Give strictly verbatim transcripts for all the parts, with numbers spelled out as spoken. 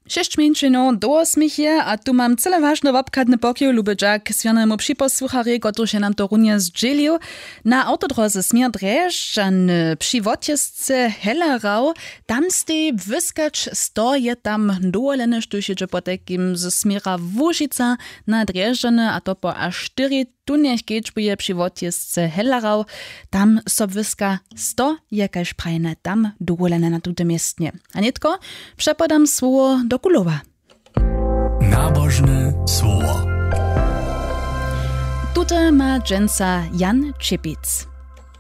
Šěsć mjeńšinow do wosmich je a tu mam cyle wažny wobchadny pokiw, luby dźak směrnemu připosłucharjej, kotryž je nam to runje zdźělił. Na awtodróze směr drježdźany při wotjězce hellerau, tam stej wyskać sto je tam dowolene, štóž jědźe potajkim ze směra łužica na drježdźany, a to po až štyri tunjech kedźbuje při wotjězce hellerau. Tam so wyska sto je, kaž prajene, tam dowolene na tutym městnje. A nětko přepodam słowo do kulowa. Nabožne słowo. Tute ma dźensa Jan Čěpic.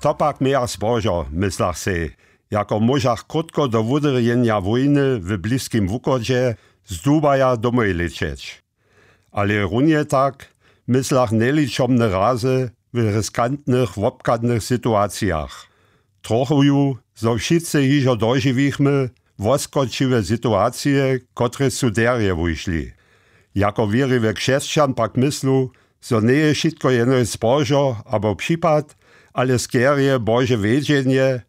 To pak mějach zbožo, myslach sej, jako móžach krótko do wudyrjenja wójny w bliskim wuchodźe z dubaja domoj lěćeć. Ale runje tak myslach njeličomne razy w riskantnych wobchadnych situacijach. Trochuju, zo wšitcy hižo dožiwichmy woskočiwe situacije, kotrež su derje wušli. Jako wěriwy křesćan pak myslu, zo njeje wšitko jenož zbožo abo připad, ale skerje bože wědźenje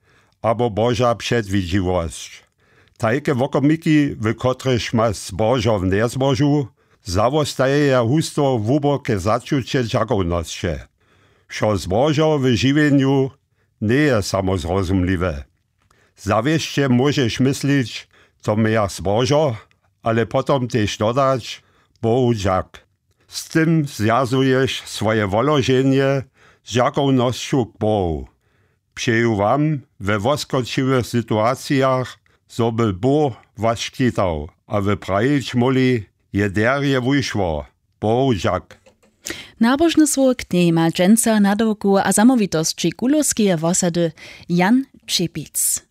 abo boža předwidźiwosć. Tajke wokomiki, w kotrychž ma zbožo w njezbožu, zawostajeja husto hłuboke začuće dźakownosće. Wšo zbožo w žiwjenju njeje samo zrozumliwe. Zawěsće móžeš myslić, to mějach zbožo, ale potom tež dodać: Bohu dźak. Z tym zwjazuješ swoje woloženje z dźakownosću k Bohu. Přeju wam we woskočiwych situacijach, zo by Bóh was škitał a wy prajić móhli: Je derje wušło, Bohu dźak. Nabožne słowo k njej ma dźensa nadawku a zamołwitosći kulowskeje wosady Jan Čěpic.